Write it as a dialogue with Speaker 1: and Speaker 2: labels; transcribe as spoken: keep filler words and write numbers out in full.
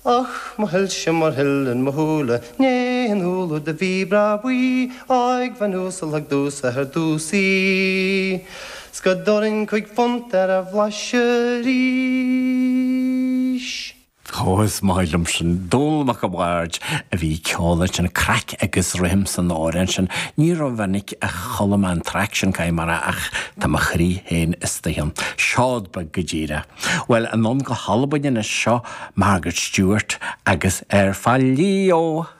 Speaker 1: Ach mo shoilse mar shileann mo shúile ní an úlla do bhí breá buí ag bhean uasal thug domhsa ar dtús í. 'S go dtabharfainn cúig phunt ar a bhlaiseadh arís.
Speaker 2: Ó is maith liom sin Dónall Mac a' Bhaird a bhí ag ceol ansin craic agus rithim san amhrán sin. Ní rómhinic a chuala mé an traic sin caithfidh mé a rá ach tá mo chroí féin istigh ann. Seod beag go díreach. Bhuel anonn go hAlbain anois seo Margaret Stewart agus Air Fà Leo.